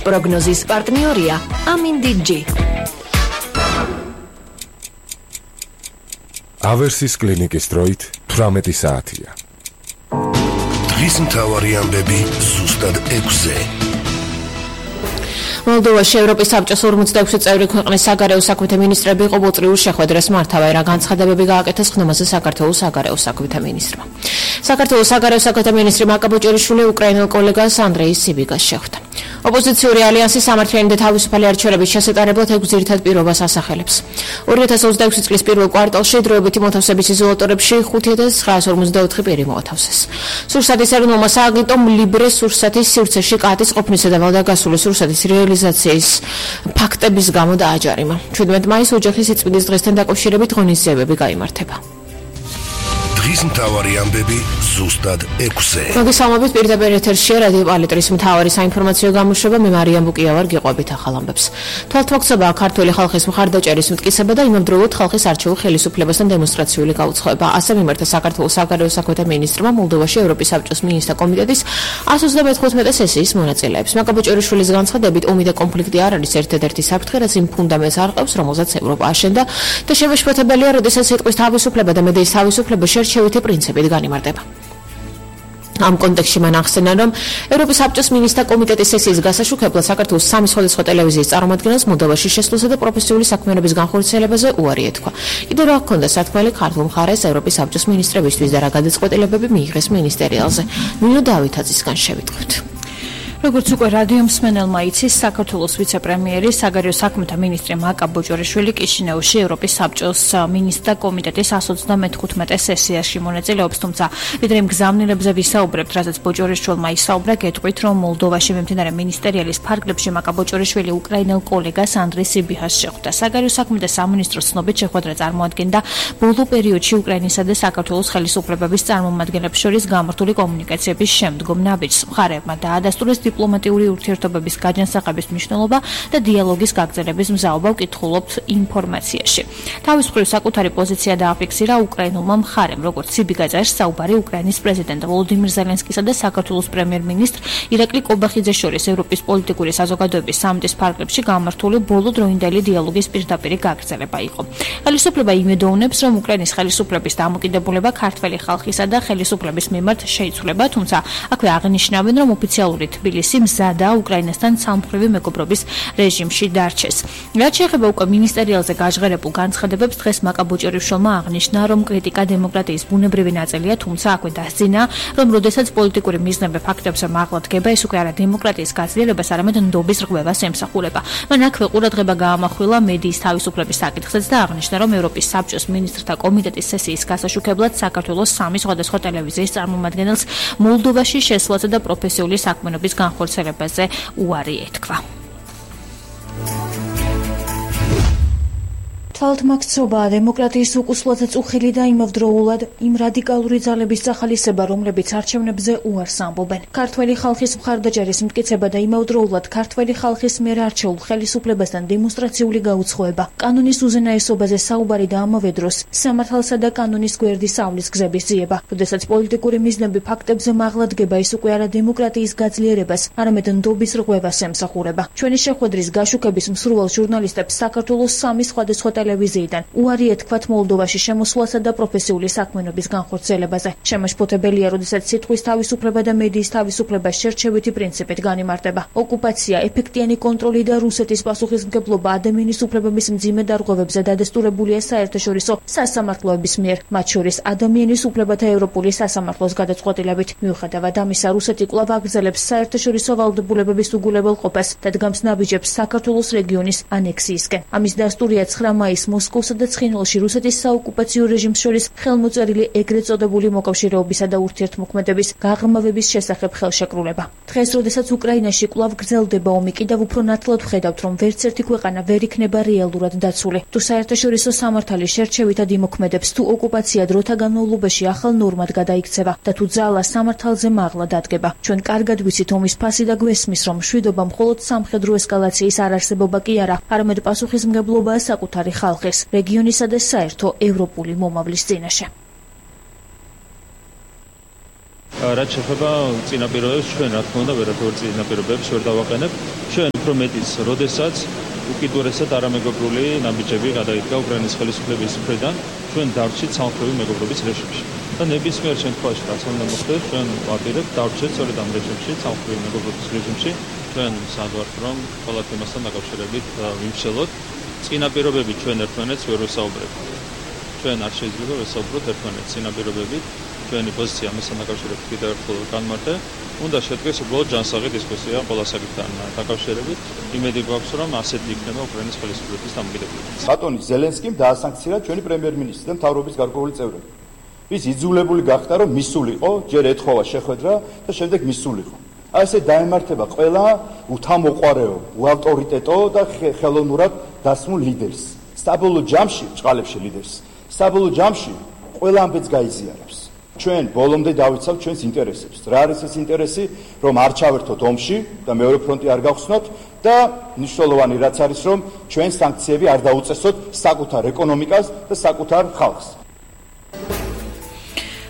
პროგნოზის პარტნიორია ამინდიჯი. ავერსის კლინიკის დროით 18 საათია. დღის მთავარი ამბები ზუსტად 6-ზე. მოლდოვაში ევროპის საბჭოს 46 წევრი ქვეყნის საგარეო საქმეთა მინისტრები ყოველწლიურ შეხვედრას მართავენ, რა განცხადებები გააკეთეს ხმაზე საქართველოს საგარეო საქმეთა მინისტრმა. საქართველოს საგარეო საქმეთა მინისტრი მაკა ბოჭორიშვილი უკრაინელ კოლეგას ანდრეი სიბიგას შეხვდა. ოპოზიციური ალიანსის სამართლიანი და თავისუფალი არჩევნების შესატარებლად 6 ძირითად პირობას ასახელებს. 2026 წლის პირველ კვარტალში დროებითი მოთავსების იზოლატორებში 5954 პირი მოათავსეს. სურსათის ეროვნულმა სააგენტომ ლიბრეს სურსათის სივრცეში კატის ყოფნისა და ვალდაგასული სურსათის რეალიზაციის ფაქტების გამო დააჯარიმა. 17 მაისს ოჯახის სიწმინდის დღესთან დაკავშირებით ღონისძიებები გაიმართება. დღის მთავარი ამბები ზუსტად 6-ზე. მოგესალმებით, პირდაპირ ეთერშია რადიო პალიტრის მთავარი საინფორმაციო გამოშვება. მე მარიამ ბუკია ვარ, გიყვებით ახალ ამბებს. თვალთმოქცებაა ქართული ხალხის მხარდაჭერის მტკიცება და იმავდროულად ხალხის არჩეულ ხელისუფლებასთან დემონსტრაციული გაუცხოება. ასე მიმართა საქართველოს საგარეო საქმეთა მინისტრმა მოლდოვაში ევროპის საბჭოს მინისტრთა კომიტეტის 135 სესიის მონაწილეებს. მაკა ბოჭორიშვილის განცხადებით, ომი და კონფლიქტი არ არის ერთადერთი საფრთხე, რაც იმ ფუნდამენტს არყევს, რომელზეც ევროპა აშენდა და შემაშფოთებელია, როდესაც სიტყვის თავისუფლება და მედიის თავისუფლება შერჩევითი პრინციპით განიმარტება. ამ კონტექსტში მან ახსენა, რომ ევროპის საბჭოს მინისტრთა კომიტეტის სესიის გასაშუქებლად საქართველოს 3 სხვადასხვა ტელევიზიის წარმომადგენელს მოლდოვაში შესვლისა და პროფესიული საქმიანობის განხორციელებაზე უარი ეთქვა. კიდევ რა ჰქონდა სათქმელი ქართულ მხარეს ევროპის საბჭოს მინისტრებისთვის და რა გადაწყვეტილებები მიიღეს მინისტერიალზე. ნინო დავითაძისგან შევიტყვით. როგორც უკვე რადიო მსმენელმა იცის, საქართველოს ვიცე-პრემიერი, საგარეო საქმეთა მინისტრი მაკა ბოჭორიშვილი კიშინეუში ევროპის საბჭოს მინისტრთა კომიტეტის 135 სესიაში მონაწილეობს, თუმცა ვიდრე იმ გზავნილებზე ვისაუბრებთ, რასაც ბოჭორიშვილმა ისაუბრა, გეტყვით, რომ მოლდოვაში მიმდინარე მინისტერიალის ფარგლებში მაკა ბოჭორიშვილი უკრაინელ კოლეგას ანდრეი სიბიჰას შეხვდა. საგარეო საქმეთა სამინისტროს ცნობით შეხვედრა წარმოადგენდა ბოლო პერიოდში უკრაინისა და საქართველოს ხელისუფლებების წარმომადგენლებს შორის გამართული კომუნიკაციების შემდგომ ნაბიჯს. მხარეებმა დაადასტურეს დიპლომატიური ურთიერთობების გაჯანსაღების მნიშვნელობა და დიალოგის გაგრძელების მზაობა ვკითხულობთ ინფორმაციაში. თავის მხრივ საკუთარი პოზიცია დააფიქსირა უკრაინულმა მხარემ, როგორც სიბიგა წერს, საუბარი უკრაინის პრეზიდენტ ვოლოდიმირ ზელენსკისა და საქართველოს პრემიერ-მინისტრ ირაკლი კობახიძეს შორის ევროპის პოლიტიკური საზოგადოების სამიტის ფარგლებში გამართული ბოლო დროინდელი დიალოგის პირდაპირი გაგრძელება იყო. ხელისუფლება იმედოვნებს, რომ უკრაინის ხელისუფლების დამოკიდებულება ქართველი ხალხისა და ხელისუფლების მიმართ შეიცვლება, თუმცა აქვე აღნიშნავენ, რომ ოფიციალური თბილისი მზადა უკრაინასთან სამმხრივი მეგობრობის რეჟიმში დარჩეს. რაც შეეხება უკვე მინისტერიალზე გაჟღერებულ განცხადებებს, დღეს მაკა ბოჭორიშვილმა აღნიშნა, რომ კრიტიკა დემოკრატიის ბუნებრივი ნაწილია, თუმცა აქვე დასძინა, რომ როდესაც პოლიტიკური მიზნები ფაქტებზე მაღლა დგება, ეს უკვე არა დემოკრატიის გაძლიერებას, არამედ ნდობის რღვევას ემსახურება. მან აქვე ყურადღება გაამახვილა მედიის თავისუფლების საკითხზეც და აღნიშნა, რომ ევროპის საბჭოს მინისტრთა კომიტეტის სესიის გასაშუქებლად საქართველოს 3 სხვადასხვა ტელევიზიის წარმომადგენელს მოლდოვაში შესვლაზე და პროფესიული საქმიანობის განხორციელებაზე უარი ეთქვა. თვალთმოქცობაა დემოკრატიის უკუსლოთა წუხილი და იმავდროულად იმ რადიკალური ძალების სახალისება, რომლებიც არჩევნებზე უარს ამბობენ. ქართველი ხალხის მხარდაჭერის მტკიცება და იმავდროულად ქართველი ხალხის მიერ არჩეულ ხელისუფლებასთან დემონსტრაციული გაუცხოება, კანონის უზენაესობაზე საუბარი და ამავე დროს სამართალსა და კანონის გვერდის ავლის გზების ძიება. როდესაც პოლიტიკური მიზნები ფაქტებზე მაღლა დგება, ის უკვე არა დემოკრატიის გაძლიერებას, არამედ ნდობის რღვევას ემსახურება. ჩვენი შეხვედრის გაშუქების მსურველ ჟურნალისტებს საქართველოს 3 სხვადასხვა ტელევიზიიდან უარი ეთქვათ მოლდოვაში შემოსვლასა და პროფესიული საქმიანობის განხორციელებაზე. შემაშფოთებელია, როდესაც სიტყვის თავისუფლება და მედიის თავისუფლება შერჩევითი პრინციპით განიმარტება. ოკუპაცია, ეფექტიანი კონტროლი და რუსეთის პასუხისმგებლობა ადამიანის უფლებების მძიმე დარღვევებზე დადასტურებულია საერთაშორისო სასამართლოების მიერ, მათ შორის ადამიანის უფლებათა ევროპული სასამართლოს გადაწყვეტილებით. მიუხედავად ამისა, რუსეთი კვლავ აგრძელებს საერთაშორისო ვალდებულებების უგულებელყოფას და დგამს ნაბიჯებს საქართველოს რეგიონის ანექსიისკენ. ამის დასტურია 9 მაისს მოსკოვსა და ცხინვალში რუსეთის საოკუპაციო რეჟიმს შორის ხელმოწერილი ეგრეთ წოდებული მოკავშირეობისა და ურთიერთმოქმედების გაღრმავების შესახებ ხელშეკრულება. დღეს, როდესაც უკრაინაში კვლავ გრძელდება ომი, კიდევ უფრო ნათლად ვხედავთ, რომ ვერც ერთი ქვეყანა ვერ იქნება რეალურად დაცული. თუ საერთაშორისო სამართალი შერჩევითად იმოქმედებს, თუ ოკუპაცია დროთა განმავლობაში ახალ ნორმად გადაიქცევა და თუ ძალა სამართალზე მაღლა დადგება. ჩვენ კარგად ვიცით ომის ფასი და გვესმის, რომ მშვიდობა მხოლოდ სამხედრო ესკალაციის არარსებობა კი არა, არამედ პასუხისმგებლობაა საკუთარი ხალხის, რეგიონისა და საერთო ევროპული მომავლის წინაშე. რაც შეეხება წინაპირობებს, ჩვენ რა თქმა უნდა ვერაფერ წინაპირობებს ვერ დავაყენებთ. ჩვენ უფრო მეტიც, როდესაც უკიდურესად არამეგობრული ნაბიჯები გადაიდგა უკრაინის ხელისუფლების მხრიდან, ჩვენ დარჩით სამხრეთი მეგობრობის რეჟიმში. და ნებისმიერ შემთხვევაში რაც უნდა მოხდეს, ჩვენ ვაპირებთ დარჩეთ სწორედ ამ რეჟიმში, სამხრეთი მეგობრობის რეჟიმში. ჩვენ საერთოდ რომ ყველა თემასთან დაკავშირებით ვიმსჯელოთ. წინაპირობები ჩვენ ერთმანეთს ვერ ვესაუბრებთ. ჩვენ არ შეიძლება ვესაუბროთ ერთმანეთს წინაპირობებით. ჩვენი პოზიცია ამასთან დაკავშირებით კიდევ ერთხელ განმარტე. უნდა შედგეს უბრალოდ ჯანსაღი დისკუსია ყველა საკითხთან დაკავშირებით. იმედი გვაქვს, რომ ასეთი იქნება უკრაინის ხელისუფლების დამოკიდებულება. ბატონი ზელენსკიმ დაასანქცია ჩვენი პრემიერ-მინისტრი და მთავრობის გარკვეული წევრები. ის იძულებული გახდა, რომ მისულიყო, ჯერ ეთხოვა შეხვედრა და შემდეგ მისულიყო. ასე დაემართება ყველა უთამოყვარეო, უავტორიტეტო და ხელოვნურად დასმულ ლიდერს. საბოლოო ჯამში, ჭყალებში ლიდერს. საბოლოო ჯამში ყველა ამბეც გაიზიარებს. ჩვენ ბოლომდე დავიცავთ ჩვენს ინტერესებს. რა არის ეს ინტერესი, რომ არ ჩავერთოთ ომში და მეორე ფრონტი არ გავხსნოთ და მნიშვნელოვანი რაც არის, რომ ჩვენ სანქციები არ დაუწესოთ საკუთარ ეკონომიკას და საკუთარ ხალხს.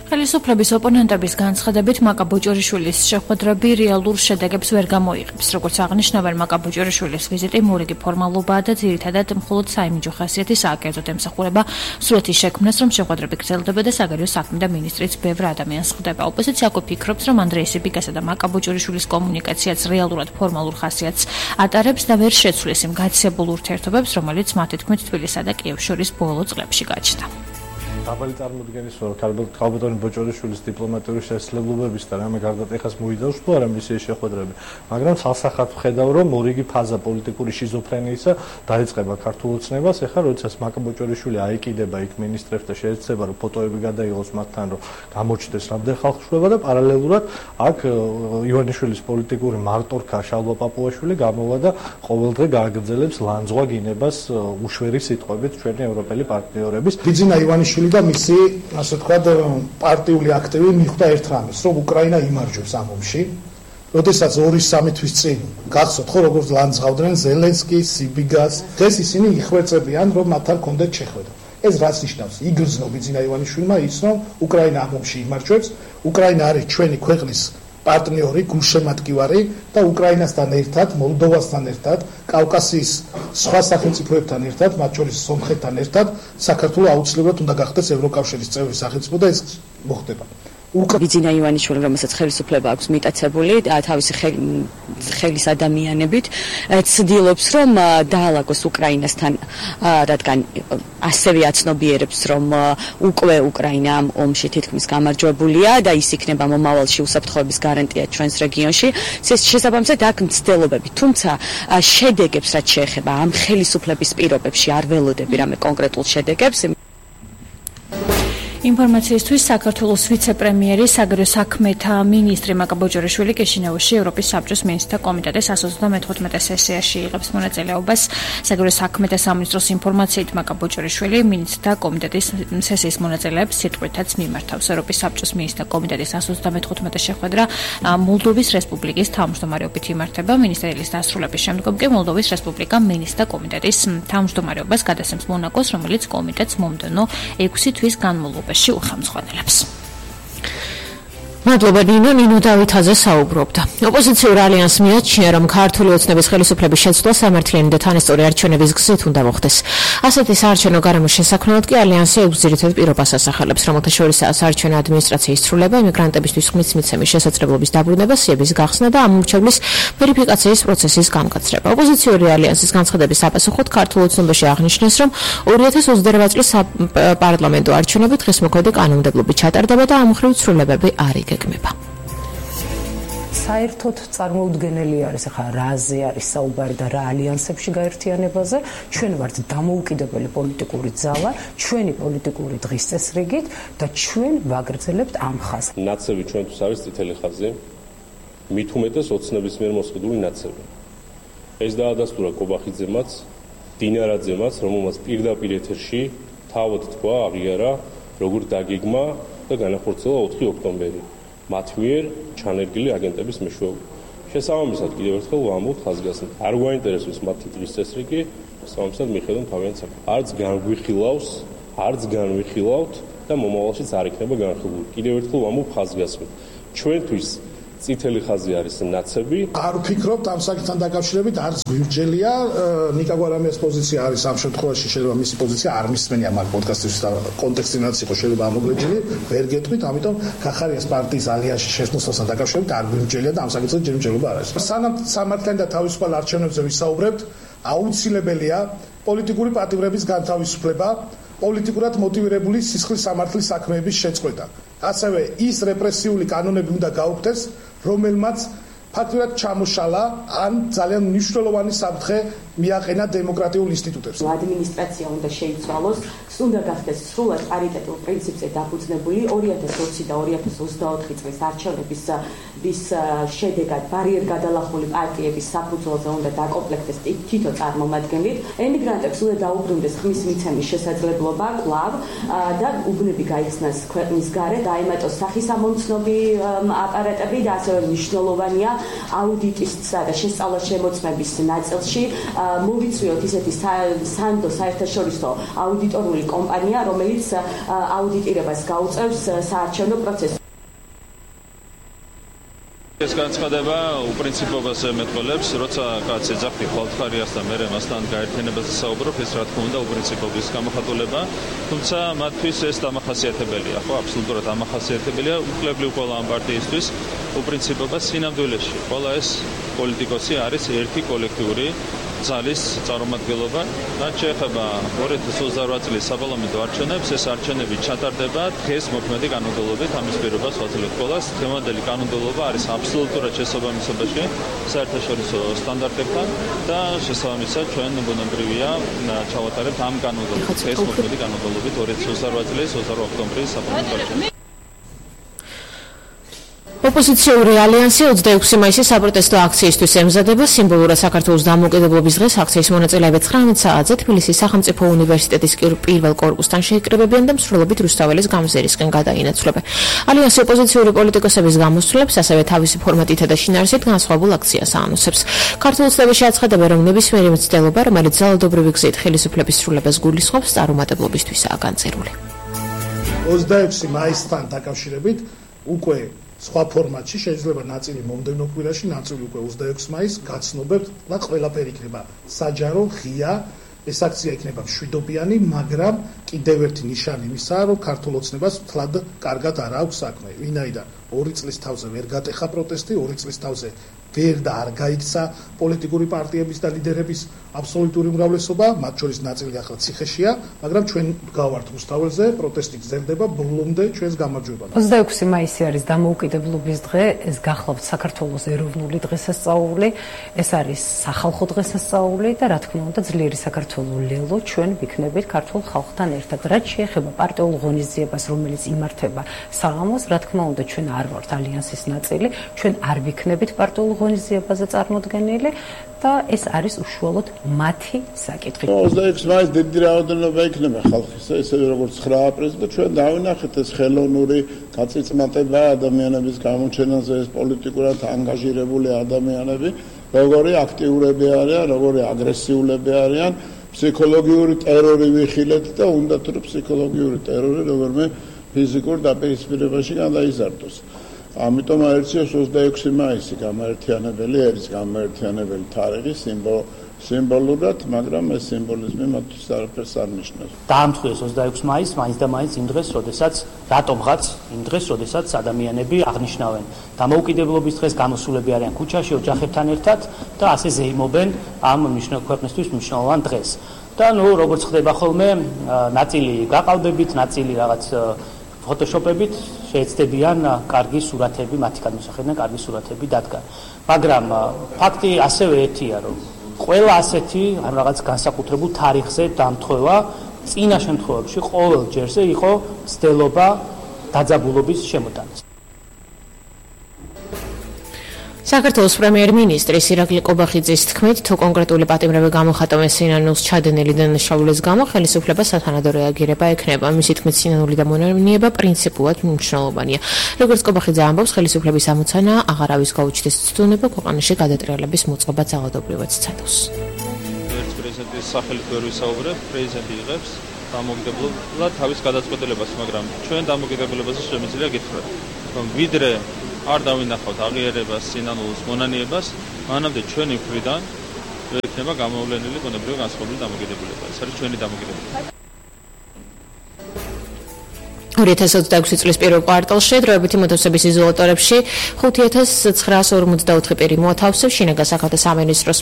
ხელისუფლების ოპონენტების განცხადებით მაკა ბოჭორიშვილის შეხვედრები რეალურ შედეგებს ვერ გამოიღებს. როგორც აღნიშნავენ, მაკა ბოჭორიშვილის ვიზიტი მორიგი ფორმალობაა და ძირითადად მხოლოდ საიმიჯო ხასიათის აკერძოდ ემსახურება სურათის შექმნას, რომ შეხვედრები გრძელდება და საგარეო საქმეთა მინისტრიც ბევრ ადამიანს ხვდება. ოპოზიცია უკვე ფიქრობს, რომ ანდრეი სიბიკასა და მაკა ბოჭორიშვილის კომუნიკაციაც რეალურად ფორმალურ ხასიათს ატარებს და ვერ შეცვლის იმ გაცებულ ურთიერთობებს, რომელიც მათი თქმით თბილისსა და კიევს შორის ბოლო წლებში გაჩნდა. დაბალი წარმოდგენის ქალბატონი ბოჭორიშვილის დიპლომატიური შესაძლებლობების და რამე გარდატეხას მოიდავს თუ არა მისი შეხვედრები, მაგრამ სასახად ვხედავ, რომ მორიგი ფაზა პოლიტიკური შიზოფრენიისა დაიწყება ქართულ ოცნებას. ეხლა როდესაც მაკა ბოჭორიშვილი აიკიდება იქ მინისტრებს და შეეცდება, რომ ფოტოები გადაიღოს მათთან, რომ გამოჩნდეს რამდენი ხალხშუება და პარალელურად აქ ივანიშვილის პოლიტიკური მარტორქა შალვა პაპუაშვილი გამოვა და ყოველდღე გააგრძელებს ლანძღვა გინებას უშვერი სიტყვებით ჩვენი ევროპელი პარტნიორების. ბიძინა ივანიშვილი და მისი, ასე ვთქვათ, პარტიული აქტივი მიხვდა ერთ რამეს, რომ უკრაინა იმარჯვებს ამ ომში. როდესაც 2-3 თვის წინ გახსოვთ ხო, როგორც ლანძღავდნენ ზელენსკის, სიბიგას, დღეს ისინი იხვეწებიან, რომ მათთან კონდეთ შეხვედრა. ეს რაც ნიშნავს, იგრძნო ბიძინა ივანიშვილმა ის, რომ უკრაინა ამ ომში იმარჯვებს, უკრაინა არის ჩვენი ქვეყნის პარტნიორი, გულშემატკივარი და უკრაინასთან ერთად, მოლდოვასთან ერთად, კავკასიის სხვა სახელმწიფოებთან ერთად, მათ შორის სომხეთთან ერთად, საქართველო აუცილებლად უნდა გახდეს ევროკავშირის წევრი სახელმწიფო და ეს მოხდება. ბიძინა ივანიშვილი, რომელსაც ხელისუფლება აქვს მიტაცებული თავისი ხელის ადამიანებით, ცდილობს, რომ დაალაგოს უკრაინასთან, რადგან ასევე აცნობიერებს, რომ უკვე უკრაინა ამ ომში თითქმის გამარჯვებულია და ის იქნება მომავალში უსაფრთხოების გარანტია ჩვენს რეგიონში. შესაბამისად აქ მცდელობები, თუმცა შედეგებს რაც შეეხება ამ ხელისუფლების პირობებში არ ველოდები რამე კონკრეტულ შედეგებს. ინფორმაციისთვის საქართველოს ვიცე-პრემიერი საგარეო საქმეთა მინისტრი მაკა ბოჭორიშვილი კიშინეუში ევროპის საბჭოს მინისტრთა კომიტეტის 135 სესიაში იღებს მონაწილეობას. საგარეო საქმეთა სამინისტროს ინფორმაციით მაკა ბოჭორიშვილი მინისტრთა კომიტეტის სესიის მონაწილეებს სიტყვითაც მიმართავს. ევროპის საბჭოს მინისტრთა კომიტეტის 135 შეხვედრა მოლდოვის რესპუბლიკის თავმჯდომარეობით იმართება. მინისტრიის დასრულების შემდგომ კი მოლდოვის რესპუბლიკა მინისტრთა კომიტეტის თავმჯდომარეობას გადასცემს მონაკოს, რომელიც კომიტეტს მომდევნო 6 თვის განმავლობაში უხელმძღვანელებს. მადლობა ნინო დავითაძე საუბრობდა. ოპოზიციურ ალიანსს მიაჩნია, რომ ქართული ოცნების ხელისუფლების შეცვლა სამართლიანი და თანასწორი არჩევნების გზით უნდა მოხდეს. ასეთი საარჩევნო გარემოს შესაქმნელად კი ალიანსი 6 ძირითად პირობას ასახელებს, რომელთა შორისაა საარჩევნო ადმინისტრაციის სრულება, იმიგრანტებისთვის ხმის მიცემის შესაძლებლობის დაბრუნება, სიების გახსნა და ამომრჩევლის ვერიფიკაციის პროცესის განკაცრება. ოპოზიციური ალიანსის განცხადების საპასუხოდ ქართულ ოცნებაში აღნიშნეს, რომ 2028 წლის პარლამენტო არჩევნები დღის მოქმედი კანონმდებლობით ჩატარდება და ამ მხრივ ცვლილებები არ იგეგმება. საერთოდ წარმოუდგენელი არის ახლა რაზე არის საუბარი და რა ალიანსებში გაერთიანებაზე. ჩვენ ვართ დამოუკიდებელი პოლიტიკური ძალა, ჩვენი პოლიტიკური დღის წესრიგით და ჩვენ ვაგრძელებთ ამ ხაზს. ნაცები ჩვენთვის არის წითელი ხაზი, მით უმეტეს ოცნების მიერ მოსყიდული ნაცები. ეს დაადასტურა კობახიძემაც, დინარაძემაც, რომელმაც პირდაპირ ეთერში თავად თქვა, აღიარა, როგორ დაგეგმა და განახორციელა 4 ოქტომბერი. მათ მიერ ჩანერგილი აგენტების მეშვეობით. შესაბამისად კიდევ ერთხელ ვამბობ ხაზგასმით. არ გვაინტერესებს მათი დღის წესრიგი, შესაბამისად მიხედავთ თავიანთ საქმეს. არც განვიხილავთ და მომავალშიც არ იქნება განხილული. კიდევ ერთხელ ვამბობ ხაზგასმით. ჩვენთვის წითელი ხაზი არის ნაცები. არ ვფიქრობთ ამ საკითხთან დაკავშირებით არც გვირჯელია ნიკა გვარამიას პოზიცია არის ამ შემთხვევაში შეიძლება მისი პოზიცია არ მისმენია მაგ პოდკასტის კონტექსტინაც იყო შეიძლება ამოგრეჯილი ვერ გეტყვით ამიტომ კახარიას პარტიის ალიანსში შესვლასთან დაკავშირებით არ გვირჯელია და ამ საკითხზე ჯერჯერობა არ არის. სანამ სამართლიან და თავისუფალ არჩევნებზე ვისაუბრებთ აუცილებელია პოლიტიკური პატიმრების განთავისუფლება პოლიტიკურად მოტივირებული სისხლის სამართლის საქმეების შეწყვეტა. ასევე ის რეპრესიული კანონები უნდა გაუქმდეს, რომელმაც ფაქტურად ჩამოშალა ან ძალიან მნიშვნელოვანი საფრთხე მიაყენა დემოკრატიულ ინსტიტუტებს. ადმინისტრაცია უნდა შეიცვალოს, უნდა გახდეს სრულად პარიტეტულ პრინციპზე დაფუძნებული 2020 და 2024 წლის არჩევნების შედეგად ბარიერგადალახული პარტიების საფუძველზე უნდა დაკომპლექტდეს თითო წარმომადგენლით. ემიგრანტებს უნდა დაუბრუნდეს ხმის მიცემის შესაძლებლობა კვლავ და უბნები გაიხსნას ქვეყნის გარეთ, დაემატოს სახისამომცნობი აპარატები და ასევე მნიშვნელოვანია აუდიტისა და შესწავლა-შემოწმების ნაწილში მოვიწვიოთ ისეთი სანდო საერთაშორისო აუდიტორული კომპანია, რომელიც აუდიტირებას გაუწევს საარჩევნო პროცესს. ეს განცხადება უპრინციპობას ემეტყველებს, როცა კაცი ეძახი ხალხარიას და მერე მასთან გაერთიანებაზე საუბრობ, ეს რა თქმა უნდა უპრინციპობის გამოხატულება, თუმცა მათთვის ეს დამახასიათებელია, ხო, აბსოლუტურად დამახასიათებელია უკლებლივ ყველა ამ პარტიისთვის უპრინციპობა სინამდვილეში. ყველა ეს პოლიტიკოსი არის ერთი კოლექტიური ძალის წარმომადგენლობა. რაც შეეხება 2028 წლის საპარლამენტო არჩევნებს, ეს არჩევნები ჩატარდება დღეს მოქმედი კანონმდებლობით, ამის პირობას ვაძლევთ ყველას. დღევანდელი კანონმდებლობა არის აბსოლუტურად შესაბამისობაში საერთაშორისო სტანდარტებთან და შესაბამისად ჩვენ ბუნებრივია ჩავატარებთ ამ კანონმდებლობას. დღეს მოქმედი კანონმდებლობით 2028 წლის 28 ოქტომბრის საპარლამენტო არჩევნები. ოპოზიციური ალიანსი 26 მაისის საპროტესტო აქციისთვის ემზადება. სიმბოლურად საქართველოს დამოუკიდებლობის დღეს აქციის მონაწილეები 19 საათზე თბილისის სახელმწიფო უნივერსიტეტის პირველ კორპუსთან შეიკრიბებიან და მსვლელობით რუსთაველის გამზერისკენ გადაინაცვლებენ. ალიანსი ოპოზიციური პოლიტიკოსების გამოსვლებს, ასევე თავისი ფორმატითა და შინაარსით განსხვავებულ აქციას აანონსებს. ქართულ ოცნებაში აცხადებენ, რომ ნებისმიერი მცდელობა, რომელიც ძალადობრივი გზით ხელისუფლების სრულებას გულისხმობს, წარუმატებლობისთვისაა განწერული. 26 მაისთან დაკავშირებით უკვე სხვა ფორმატში შეიძლება ნაწილი მომდევნო კვირაში, ნაწილი უკვე 26 მაისს გაცნობებთ და ყველაფერი იქნება საჯარო, ღია. ეს აქცია იქნება მშვიდობიანი, მაგრამ კიდევ ერთი ნიშანი იმისაა, რომ ქართულ ოცნებას თლად კარგად არ აქვს საქმე. ვინაიდან 2 წლის თავზე ვერ გატეხა პროტესტი, 2 წლის თავზე ვერ და არ გაიქცა პოლიტიკური პარტიების და ლიდერების აბსოლუტური უმრავლესობა, მათ შორის ნაწილი ახლა ციხეშია, მაგრამ ჩვენ გავართ რუსთაველზე, პროტესტი გრძელდება ბოლომდე ჩვენს გამარჯვებამდე. 26 მაისი არის დამოუკიდებლობის დღე, ეს გახლავთ საქართველოს ეროვნული დღესასწაული, ეს არის სახალხო დღესასწაული და რა თქმა უნდა ძლიერი საქართველოს ლელო ჩვენ ვიქნებით ქართულ ხალხთან ერთად. რაც შეეხება პარტიულ ღონისძიებას, რომელიც იმართება საღამოს, რა თქმა უნდა ჩვენ არ ვართ ალიანსის ნაწილი, ჩვენ არ ვიქნებით პარტიულ ღონისძიებაზე წარმოდგენილი და ეს არის უშუალოდ მათი საკითხი. 26 მაისს დიდი რაოდენობა იქნება ხალხისა, ისევე როგორც 9 აპრილს და ჩვენ დავინახეთ ეს ხელოვნური გაწიწმატება ადამიანების გამოჩენაზე, ეს პოლიტიკურად ანგაჟირებული ადამიანები, როგორი აქტიურები არიან, როგორი აგრესიულები არიან, ფსიქოლოგიური ტერორი ვიხილეთ და უნდათ რომ ფსიქოლოგიური ტერორი როგორმე ფიზიკურ დაპირისპირებაში გადაიზარდოს. ამიტომ აერციოს 26 მაისი გამაერთიანებელი არის გამაერთიანებელი თარიღი სიმბოლურად, მაგრამ ეს სიმბოლიზმი მათთვის არაფერს არ ნიშნავს. დაამთხვიეს 26 მაისს, მაინც და მაინც იმ დღეს, როდესაც რატომღაც იმ დღეს, როდესაც ადამიანები აღნიშნავენ დამოუკიდებლობის დღეს, გამოსულები არიან ქუჩაში ოჯახებთან ერთად და ასე ზეიმობენ ამ ქვეყნისთვის მნიშვნელოვან დღეს. და როგორც ხდება ხოლმე, ნაწილი გაყალბებით, ნაწილი რაღაც ფოტოშოპებით შეეცდებიან კარგი სურათები, მათი გადმოსახედიდან კარგი სურათები დადგან. მაგრამ ფაქტი ასევე ერთია, რომ ყველა ასეთი რაღაც განსაკუთრებულ თარიღზე დამთხოვა წინა შემთხვევებში ყოველ ჯერზე იყო მცდელობა დაძაბულობის შემოტანას. საქართველოს პრემიერ-მინისტრის ირაკლი ყობახიძის თქმით, თუ კონკრეტული პატიმრები გამოხატავენ სინანულს ჩადენილი დანაშაულის გამო, ხელისუფლებას სათანადო რეაგირება ექნება. მისი თქმით, სინანული დამონარნიება პრინციპულად მნიშვნელოვანია. როგორც ყობახიძე ამბობს, ხელისუფლების ამოცანა აღარ არის გაუჩნდეს ცდონება ქვეყანაში გადატრიალების მოწყობა ძალადობრივად სცადოს. პრეზიდენტის სახელით ვერ ვისაუბრებ, პრეზიდენტი იღებს დამოუკიდებლად თავის გადაწყვეტილებას, მაგრამ ჩვენ დამოუკიდებლობაზე შემიძლია გითხრათ, რომ ვიდრე არ დავინახავთ აღიარებას, სინანულს, მონანიებას, მანამდე ჩვენი მხრიდან ვერ იქნება გამოვლენილი ბუნებრივი განსხვავებული დამოკიდებულება. ეს არის ჩვენი დამოკიდებულება. 2026 წლის პირველ კვარტალში დროებითი მოთხოვების იზოლატორებში 5954 პირი მოათავსებს. შინაგან საქმეთა სამინისტროს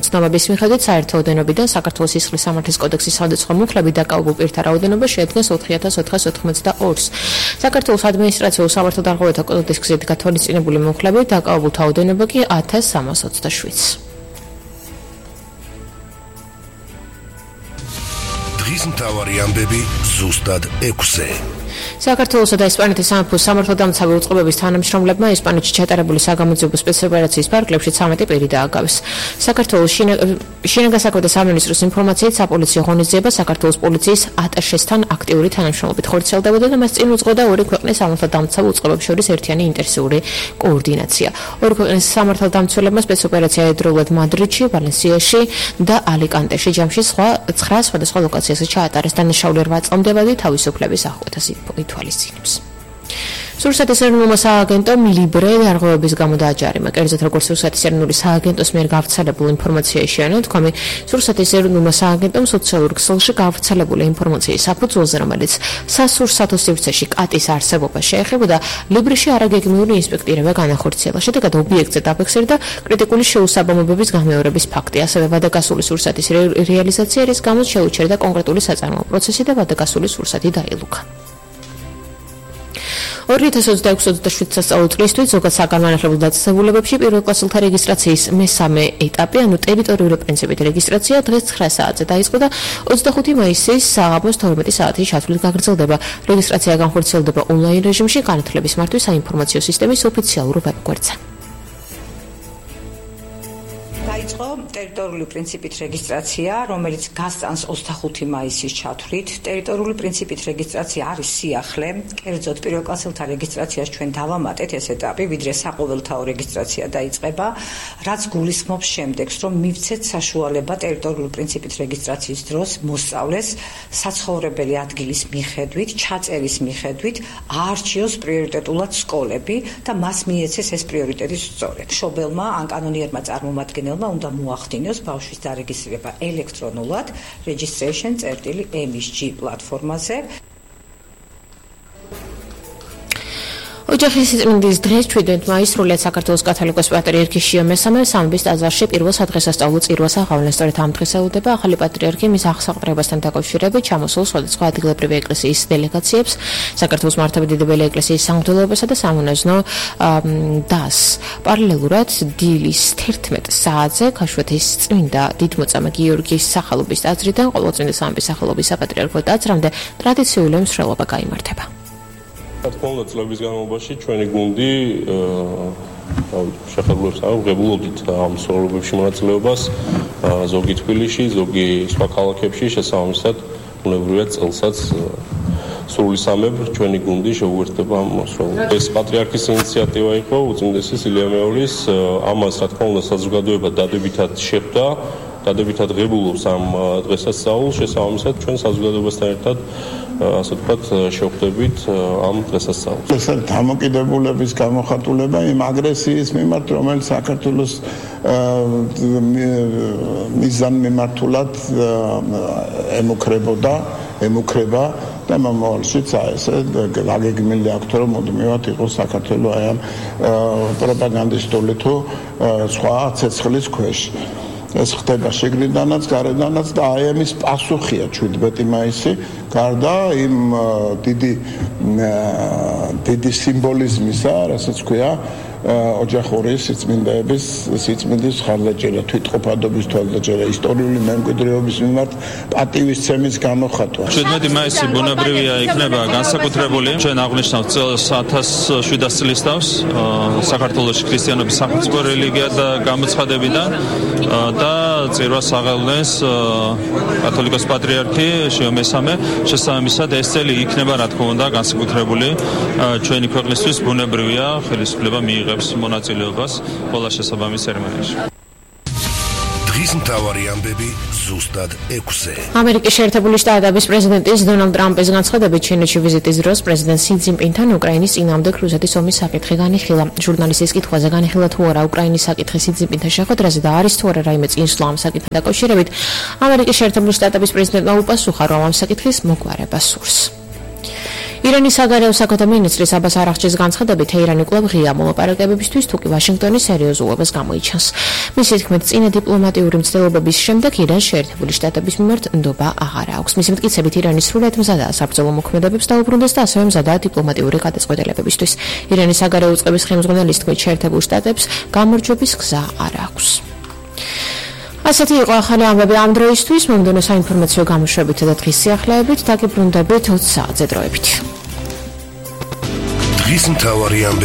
ცნობების მიხედვით საერთო ოდენობიდან საქართველოს სისხლის სამართლის კოდექსის სხვადასხვა მუხლებით დაკავებულ პირთა რაოდენობა შეადგენს 4492-ს. საქართველოს ადმინისტრაციულ სამართალდამცავთა კოდექსის გზით გათვალისწინებული მუხლებით დაკავებულთა ოდენობა კი 1327-ს. დღის მთავარი ამბები ზუსტად 6-ზე. საქართველოსა და ესპანეთის სამეფოს სამართალდამცავი უწყებების თანამშრომლებმა ესპანეთში ჩატარებული საგამოძიებო სპეცოპერაციის ფარგლებში 13 პირი დააგავეს. საქართველოს შინაგან საქმეთა სამინისტროს ინფორმაციით საპოლიციო ღონისძიება საქართველოს პოლიციის ატაშესთან აქტიური თანამშრომლობით ხორციელდებოდა და მას წინ უძღოდა ორი ქვეყნის სამართალდამცავ უწყებებს შორის ერთიანი ინტენსიური კოორდინაცია. ორი ქვეყნის სამართალდამცველებმა სპეცოპერაცია ედროულად მადრიდში, ვალენსიაში და ალიკანტეში ჯამში 9 სხვადასხვა ლოკაციაზე ჩაატარეს. დანაშაული 8 წლამდე თავისუფლების აღკვეთას ითვალისწინებს. სურსათის ეროვნულმა სააგენტომ ლიბრე დარღვევების გამო დააჯარიმა. კერძოდ როგორც სურსათის ეროვნული სააგენტოს მიერ გავრცელებულ ინფორმაციაში შეაჩერა თქვი, სურსათის ეროვნულმა სააგენტომ სოციალურ ქსელში გავრცელებული ინფორმაციის საფუძველზე, რომელიც სასურსათო სივრცეში კატის არსებობა შეეხებოდა, ლიბრეში არაგეგმიური ინსპექტირება განახორციელა. შედეგად ობიექტზე დაფიქსირდა კრიტიკული შეუსაბამობების გამეორების ფაქტი. ასევე ვადაგასული სურსათის რეალიზაცია, რის გამოც შეუჩერდა კონკრეტული საწარმოო პროცესი და ვადაგასული სურსათი დაილუქა. 2026-27 სასწავლო წლისთვის ზოგად საგანმანათლებლო დაწესებულებებში პირველკლასელთა რეგისტრაციის მესამე ეტაპი, ანუ ტერიტორიული პრინციპით რეგისტრაცია დღეს 9 საათზე დაიწყო და 25 მაისის საღამოს 12 საათის ჩათვლით გაგრძელდება. რეგისტრაცია განხორციელდება ონლაინ რეჟიმში განათლების მართვის საინფორმაციო სისტემის ოფიციალურ ვებგვერდზე. დაიწყო ტერიტორიული პრინციპით რეგისტრაცია, რომელიც გასწანს 25 მაისის ჩათვლით. ტერიტორიული პრინციპით რეგისტრაცია არის სიახლე, კერძოდ პირველკლასელთა რეგისტრაციას ჩვენ დავამატეთ ეს ეტაპი, ვიდრე საყოველთაო რეგისტრაცია დაიწყება, რაც გულისხმობს შემდეგს, რომ მივცეთ საშუალება ტერიტორიული პრინციპით რეგისტრაციის დროს მოსწავლეს საცხოვრებელი ადგილის მიხედვით, ჩაწერის მიხედვით აარჩიოს პრიორიტეტულად სკოლები და მას მიეცეს ეს პრიორიტეტი სწორედ. მშობელმა ან კანონიერმა წარმომადგენელმა უნდა მოახდინოს ბავშვის დარეგისტრირება ელექტრონულად registration.msg პლატფორმაზე. ოჯახის სიწმინდის დღეს 7 მაისს სრულიად საქართველოს კათოლიკოს პატრიარქი შიო მესამე სამების ტაძარში პირველ სადღესასწაულო წირვას აღავლენ. სწორედ ამ დღეს ელოდება ახალი პატრიარქი მის აღსაყრებასთან დაკავშირებით ჩამოსულ სხვადასხვა ადგილობრივი ეკლესიის დელეგაციებს, საქართველოს მართლმადიდებელი ეკლესიის სამღვდელოებასა და სამონაზვნო დას. პარალელურად დილის 11 საათზე ქაშვეთის წმინდა დიდმოწამე გიორგის სახელობის ტაძრიდან ყოველწმინდა სამების სახელობის საპატრიარქო ტაძრამდე ტრადიციული მსვლელობა გაიმართება. თქმა უნდა, წლების განმავლობაში ჩვენი გუნდი შეხებულებს აღებულობდით ამ მსვლელობებში მონაწილეობას, ზოგი თბილისში, ზოგი სხვა ქალაქებში, შესაბამისად, უნებრივია წელსაც სრული სამებ ჩვენი გუნდი შეუერთდება ამ მოსვლელობას. ეს პატრიარქის ინიციატივა იყო, უწმინდესი სილია მეორის, ამას რა თქმა უნდა საზოგადოება დადებითად შეხვდა. დადებითად ღებულობს ამ დღესასწაულს, შესაბამისად ჩვენ საზოგადოებასთან ერთად ასე ვთქვათ შევხვდებით ამ დღესასწაულს. ეს არის დამოკიდებულების გამოხატულება იმ აგრესიის მიმართ, რომელიც საქართველოს მიზანმიმართულად ემუქრება და მომავალშიც ესე გაგეგმილი აქვს, რომ მუდმივად იყოს საქართველოს აი ამ პროპაგანდისტული თუ სხვა ცეცხლის ქვეშ. ეს ხდება შიგნიდანაც, გარედანაც და აი ამის პასუხია 17 მაისი, გარდა იმ დიდი სიმბოლიზმისა, რასაც ქვია ოჯახური სიწმინდის ხარდაჭერა, თვითყოფადობის თვალსაჩინო, ისტორიული მემკვიდრეობის მიმართ პატივისცემის გამოხატვა. 17 მაისი ბუნებრივია იქნება განსაკუთრებული. ჩვენ აღნიშნავთ წელს 1700 წლის თავს საქართველოს ქრისტიანობის სახელმწიფო რელიგია და გამოცხადებიდან და წირვას აღავლენს კათოლიკოს პატრიარქი შიო მესამე. შესაბამისად ეს წელი იქნება რა თქმა უნდა განსაკუთრებული ჩვენი ქვეყნისთვის ბუნებრივია ხელისუფლება მიიღებს მონაწილეობას ყველა შესაბამის ცერემონიაში. დღის მთავარი ამბები ზუსტად 6-ზე. ამერიკის შეერთებული შტატების პრეზიდენტის დონალდ ტრამპის განცხადებით ჩინეთში ვიზიტის დროს პრეზიდენტ სი ძინპინთან უკრაინის წინააღმდეგ რუსეთის ომის საკითხი განიხილა. ჟურნალისტის კითხვაზე განიხილა თუ არა უკრაინის საკითხი სი ძინპინთან შეხვედრაზე და არის თუ არა რაიმე წინსვლა ამ საკითხთან დაკავშირებით, ამერიკის შეერთებული შტატების პრეზიდენტმა უპასუხა, რომ ამ საკითხის მოგვარება სურს. ირანის საგარეო საქმეთა მინისტრის აბას არაღჩის განცხადებით, თეირანი კვლავ ღია მოლაპარაკებებისთვის, თუკი ვაშინგტონის სერიოზულობას გამოიჩენს. მისი თქმით, წინა დიპლომატიური მცდელობების შემდეგ ირანს შეერთებული შტატების მიმართ ნდობა აღარ აქვს. მისი მტკიცებით, ირანი სრულად მზადაა საბრძოლო მოქმედებებს დაუბრუნდეს და ასევე მზადაა დიპლომატიური გადაწყვეტილებებისთვის. ირანის საგარეო უწყების ხელმძღვანელის თქმით, შეერთებულ შტატებს გამარჯვების გზა არ აქვს. ასეთი იყო ახალი ამბები ამ დროისთვის. მომდევნო საინფორმაციო გამოშვებით და დღის სიახლეებით დაგიბრუნდებით 20 საათზე დროებით. დღის მთავარი ამბები